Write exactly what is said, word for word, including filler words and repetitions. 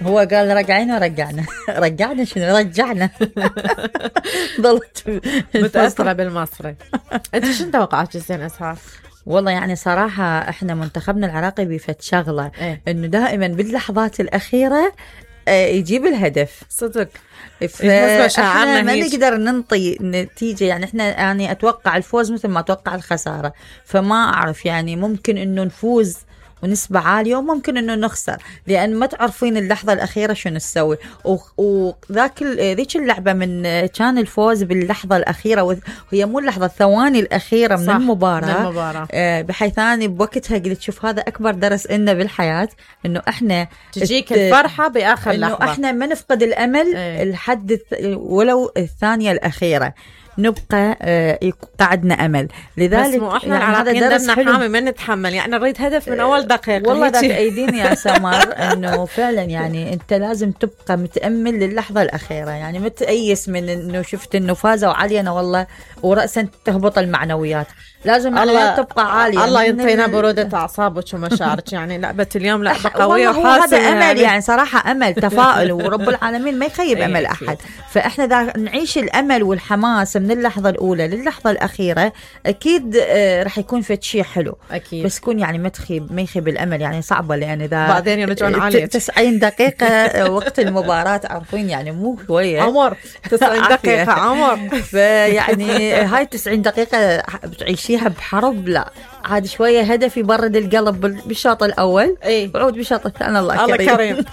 هو قال رجعينا رجعنا رجعنا شنو رجعنا ضلت متأثرة بالمصري. انت شنو توقعات زين اسهار؟ والله يعني صراحة احنا منتخبنا العراقي بيفت شغلة ايه؟ انه دائما باللحظات الأخيرة يجيب الهدف صدق. فاحنا ما نقدر ننطي نتيجة، يعني احنا يعني اتوقع الفوز مثل ما اتوقع الخسارة، فما اعرف يعني ممكن انه نفوز ونسبة عالية وممكن انه نخسر، لان ما تعرفين اللحظة الاخيرة شنو نسوي. وذاك ذيك اللعبة من كان الفوز باللحظة الاخيرة، وهي مو اللحظة الثواني الاخيرة من المباراة, من المباراة. آه بحيث اني بوقتها قلت شوف هذا اكبر درس لنا بالحياة، انه احنا تجيك الفرحة باخر إنه لحظة، انه احنا ما نفقد الامل ايه. الحد ولو الثانية الاخيرة نبقى آه قعدنا امل. لذلك بس مو احنا يعني العراقيين دمنا حامي ما نتحمل، يعني نريد هدف من اول دقيقه. والله ذاك ايدين يا سمر انه فعلا يعني انت لازم تبقى متامل للحظه الاخيره، يعني ما تأيس من انه شفت انه فازوا علينا والله وراسا تهبط المعنويات، لازم الله تبقى عاليه. الله ينطينا بروده اعصابك ومشاعرك، يعني لعبه اليوم لعبه قويه وحاسمه. هذا امل يعني, يعني صراحه امل تفاؤل ورب العالمين ما يخيب امل احد، فاحنا دا نعيش الامل والحماس من اللحظه الاولى للحظه الاخيره، اكيد آه رح يكون في شيء حلو اكيد، بس يكون يعني ما تخيب ما يخيب الامل، يعني صعبه لان اذا بعدين يرجعون عليك تسعين دقيقه وقت المباراه عارفين يعني مو شويه عمر تسعين دقيقه عمر فيعني هاي تسعين دقيقه بتعيشيها بحرب، لا عاد شويه هدف يبرد القلب بالشوط الاول ايه وعود بالشوط الثاني. الله, الله كريم, كريم.